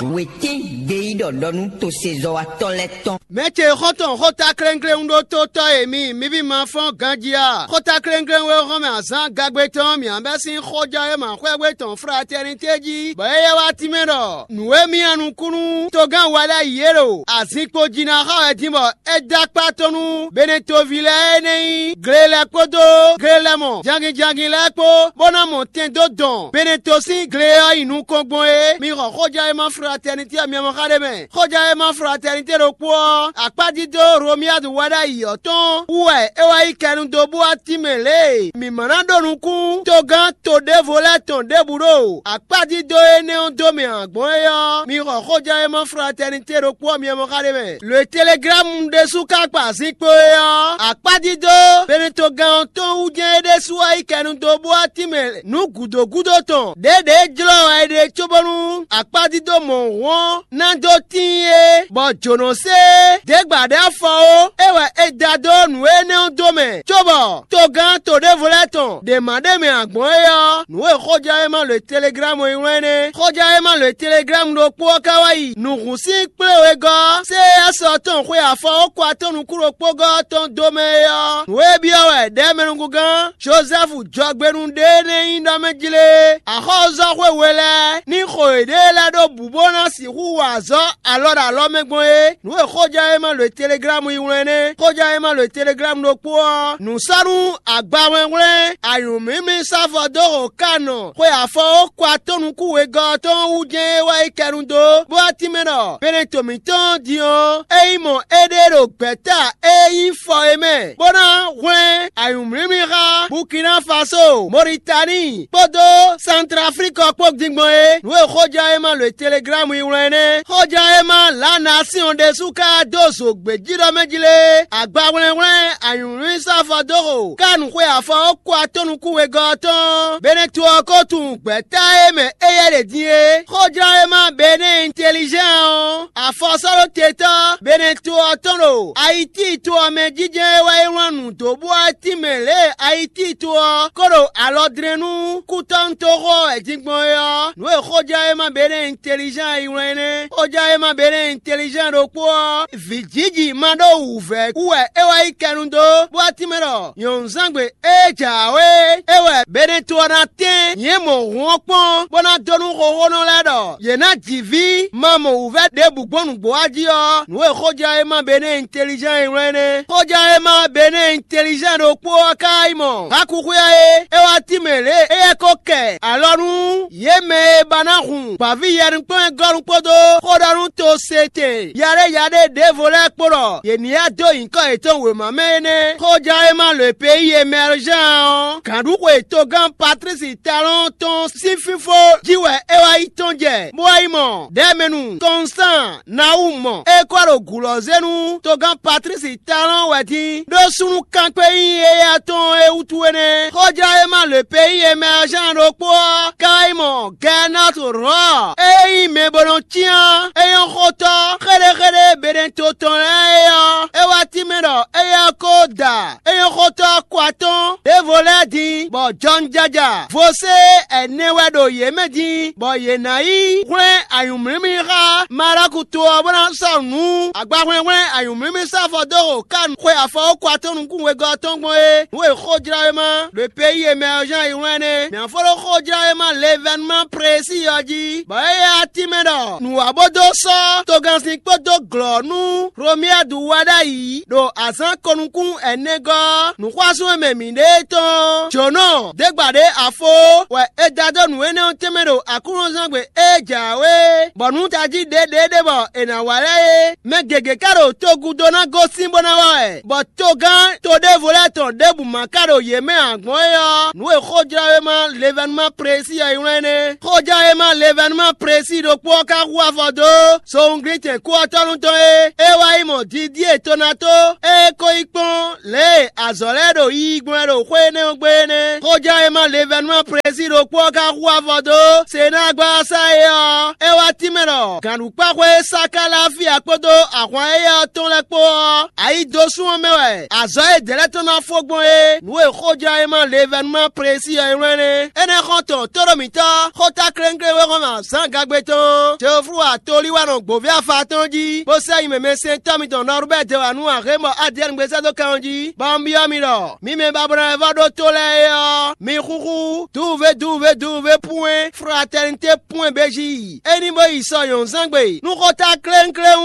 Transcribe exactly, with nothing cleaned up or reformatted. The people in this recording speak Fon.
Wětɛ́n gbeyíɖɔ ɖɔ nú tosezɔ́watɔ́ lɛ́ɛ tɔn. Mɛ ce xɔ́ntɔn xóta klɛ́nklɛ́n ɖó tótɔ́ e mi, mi ví ma fɔ́n ganjí a? Xóta klɛ́nklɛ́n wɛ hɔn mɛ azǎn gagbe tɔn mǐ bɛ́ sín xójɔ e ma xwɛ́gbe tɔn fratɛ́nitɛ́ jí, bɔ é yɛ wá tínmɛ ɖɔ nǔ e mì nyi nukúnnú togán wa ɖ'ayǐ é ɖo azinkpo jí ná xɔ wɛ din bɔ é dó akpá tɔn nú Benetoví lɛ́ɛ e nɛ́ nyí gle lɛ́ɛ kpódó gle lɛ́ɛ mɔ jangin jangin lɛ́ɛ kpó, bó ná mɔ tɛn dó dɔn Beneto sín gle e ɔ́ nyi nukɔn gbɔn é. Mi xɔ xójɔ e ma fratɛ́nitɛ́ ɔ́ mi mɔ xá ɖé mɛ. Xójɛ́wéma fratɛ́nitɛ́ ɖokpó ɔ́, akpájídó Romiyadu wá ɖ'ayǐ ɔ́ tɔn wú wɛ é wá yí kɛnu dó bú atínmɛ lě e mǐ ma ná ɖó nukún togán to ɖěvo lɛ́ɛ tɔn ɖěbǔ ɖo akpájídó énɛ́ ɔ́ dó mɛ ǎ gbɔn é ɔ́, mi xɔ xójɛ́wéma fratɛ́nitɛ́ ɖokpó ɔ́ mi e mɔ xá ɖé mɛ. Lǒ e Teleglámu ɖésú ka kpa zinkpo é ɔ́, akpájídó Benetogán ɔ́ tɔn wú jɛ́n é ɖésú wá yí kɛnu dó bú atínmɛ nǔ gǔdo gúdo tɔn ɖěɖě jlɔ́ wɛ é ɖe cóbónú akpájídó mɔ̌hun ɔ́ ná dó tíin é, bɔ jǒnɔ sé é. Děgbǎ ɖé afɔ ó, é wɛ è da dó nǔ énɛ́ ɔ́ dó mɛ, cóbɔ togán to ɖěvo lɛ́ɛ tɔn ɖě ma ɖ'é mɛ ǎ gbɔn é ɔ́, nǔ e xójɛ́wéma lǒ e Teleglámu e nylɔ́ énɛ́. Xójɛ́wéma lǒ e Teleglámu ɖokpó ɔ́ ka wá yi nǔhún sín kplé wegɔ́ ɔ́, sé é sɔ́ tɔn xwe afɔ ó kɔ atɔ́ nukún ɖokpógɔ́ ɔ́ tɔn dó mɛ é ɔ́, nǔ e byɔ́ wɛ ɖɛ̌mɛnúgúngán Jozɛ́fu jɔgbénu ɖé nɛ́ nyí ɖɔ mɛ jlé axɔ́súzɔ́xwe we lɛ́ɛ ní xo yěɖée lɛ́ɛ ɖó bǔ bó ná sixú wa azɔ̌ alɔ ɖo alɔ mɛ gbɔn é. Nǔ e xójɛ́wéma lǒ e Teleglámu yi wlán nɛ́. Xójɛ́wéma lǒ e Teleglámu ɖokpó ɔ́, nǔ sɔ́ nú agbahwlɛ́nhwlɛ́n anyǔmímí sáfɔ dó xo Kanɔ xwe afɔ ó kɔ atɔ́ nukún wegɔ́ ɔ́ tɔn wú jɛ́n é wá yi kɛnu dó, bó wá tínmɛ ɖɔ Beneto mǐtɔn din ɔ́, é nyí mɔ éɖée ɖo gbɛ̌ta e nyí fɔ é mɛ, bó ná hwlɛ́n anyǔmlímlí xá Burkina Faso, Mɔritani kpódó Santraflíkɔ kpó din gbɔn é. Nǔ e xójɛ́wéma lǒ e Teleglámu yi wlán é nɛ́. Xójɛ́wéma Lǎnasíɔn ɖésú ka dó zo gbějíɖɔ mɛ jí lé, agbahwlɛ́nhwlɛ́n anyǔmlímlí sáfɔ dó xo Kanu xwe afɔ ó kɔ atɔ́ nukún wegɔ́ ɔ́ tɔn. Beneto ɔ́ ko tunwun gbɛ̌ta e mɛ éyɛ́ ɖe din é. Xójlɔ́ e ma Benɛ́ɛ Intelizɛ́n ɔ́, afɔsɔ́ɖótetɔ́ Beneto ɔ́ tɔn ɖo Ayiti to ɔ́ mɛ jínjɔ́n é wɛ é wlán nǔ dó bú Atín mɛ lě e Ayiti to ɔ́ ko ɖo alɔ dlɛ́n nú kútɔ́nútoxo ɔ́ wɛ din gbɔn é ɔ́, nǔ e xójlɔ́ e ma Benɛ́ɛ Intelizɛ́n yi wlán é nɛ́. Xójlɔ́ e ma Benɛ́ɛ Intelizɛ́n ɖokpó ɔ́, vǐjiji ma ɖó wǔvɛ́ wú wɛ é wá yi kɛnu dó, bó wá tínmɛ ɖɔ nyɔ̌nuzángbe ée jǎwe é wɛ Beneto ɔ́ ná tɛ́n nyɛ mɔ hǔn ɔ́ kpɔ́n, bó ná dó nú xóxónɔ lɛ́ɛ ɖɔ yě ná ji vǐ ma mɔ wǔvɛ́ ɖěbǔ gbɔn nǔgbó wá jí ɔ́, nǔ e xójlɔ́ e ma Benɛ́ɛ Intelizɛ́n yi wlán é nɛ́. Xójlɔ́ e ma Benɛ́ɛ Intelizɛ́n ɖokpó ɔ́ ka yi mɔ Hakuxwia é, é wá tínmɛ lě e éyɛ́ ko kɛ alɔ nú yě mɛ e ba ná hun gbǎví yɛnukpɔ́n-gɔ́nú kpódó xó ɖɔ nú to se tɛn yaɖéyaɖé ɖěvo lɛ́ɛ kpó ɖɔ yě ní yá dó nyǐkɔ yětɔn wěma mɛ é nɛ́. Xójlɔ́ e ma lǒ e peyi e mɛ Alɔzán ɔ́, gǎnɖuxwe togán Patlísi Talɔ́ɔn tɔn sín fínfó jí wɛ é wá yi tɔn jɛ, bó wá yi mɔ Dɛ̌mɛnu Kɔnsán Nawúmɔ e kɔ ɖo gǔ lɔ́ zé nú togán Patlísi Talɔ́ɔn wɛ dín ɖó súnnu kankwé nyí éyɛ́ tɔn é wútu é nɛ́. Xójlɔ́ e ma lǒ e peyi e mɛ Alɔzán ɖokpó ɔ́ ka yi mɔ Gɛnɔ́tu Rɔ̌ɔ e nyí mɛ bó nɔ cyán é nyɔ́ xótɔ́ xéɖéxéɖé Beneto tɔn lɛ́ɛ é ɔ́, é wá tínmɛ ɖɔ éyɛ́ ɔ́ ko da é nyɔ́ xótɔ́ kɔ atɔ́n ɖěvo lɛ́ɛ din, bɔ jɔnjɛja vosé ɛnɛ wɛ ɖo yě mɛ din, bɔ yě ná yi hwlɛ́n anyǔmlímlí xá Maɖɔku to ɔ́, bó ná sɔ́ nǔ agbahwlɛ́nhwlɛ́n anyǔmlímlí sáfɔ dó xo Kanu xwe afɔ ó kɔ atɔ́ nukún wegɔ́ ɔ́ tɔn gbɔn é. Nǔ e xójlɔ́wéma ɖo peyi e mɛ ɔ́ zán yi wlán nɛ́. Mǐ ná fó ɖó xójlɔ́wéma Levenman Presi ɔ́ jí, bɔ é yá tínmɛ ɖɔ nǔ wá bó dó sɔ́ togannsin kpódó glɔ̌ nú Hlomiyadu wá ɖ'ayǐ ɖo azǎn ko-nukún ɛnɛgɔ́ nǔxwásún e mɛ mǐ ɖe é tɔn ɔ́, jǒnɔ ɖěgbǎɖé afó wɛ è da dó nǔ énɛ́ ɔ́ tɛnmɛ ɖo Aklúnɔzángbe e jǎwe, bɔ nǔ tají ɖěɖěɖé bɔ è nǎ wa lɛ́ɛ é. Mɛ gěgé ka ɖo togúdo ná gosín bó ná wá wɛ, bɔ togán to ɖěvo lɛ́ɛ tɔn ɖěbǔ ma ka ɖo yě mɛ ǎ gbɔn é ɔ́, nǔ e xójlɔ́wéma Levanuma Presi ɔ́ yi wlán é nɛ́. Xójlɔ́wéma Levanuma Presi ɖokpó ɔ́ ka hu afɔ dó sowunglítɛn kú ɔ́ tɔ́ nú tɔn é. É wá yi mɔ Didíe Tonato e é ko yi kpɔ́n lě e azɔ̌ lɛ́ɛ ɖo yiyi gbɔn wɛ ɖo xwé énɛ́ ɔ́ gbe é nɛ́. Xójlɔ́wéma Levanuma Presi ɖokpó ɔ́ ka hu afɔ dó Senágbasa é ɔ́, é wá mɛ ɖɔ gǎnɖukpáxwé Sakalafia kpódó ahwan éyɛ́ ɔ́ tɔn lɛ́ɛ kpó ɔ́, ayi dó sú ɔ́ mɛ wɛ azɔ̌ e dɛ̌ lɛ́ɛ tɔn ná fó gbɔn é. Nǔ e xójánwéma Levanuma Plesi ɔ́ e wlɛ́n é. Énɛ́ xɔ́ntɔn tóɖó mǐtɔn xóta klénkléwéxɔ́mɛ azǎn gagbe tɔn Teoflu atolíwanɔ gbǒví afa tɔn jí, bó sɛ́ nyi mɛmɛsɛntɔ́ mitɔn Nɔrubɛ́ dɛ wá nú Axémɔ Adiyɛ́ɛn gbézɛ́ dó kan ɔ́ jí, bɔ un byɔ́ mi ɖɔ mi mɛ ba bó ná wɛ vɔ́ ɖó tó lɛ́ɛ é ɔ́, mi xúxú duwuvé duwuvé duwuvé pwɛ́n fratɛnité pwɛ́n béjí. É ní bó yi sɔ nyɔ̌nuzángbe nú xóta klénkléwún.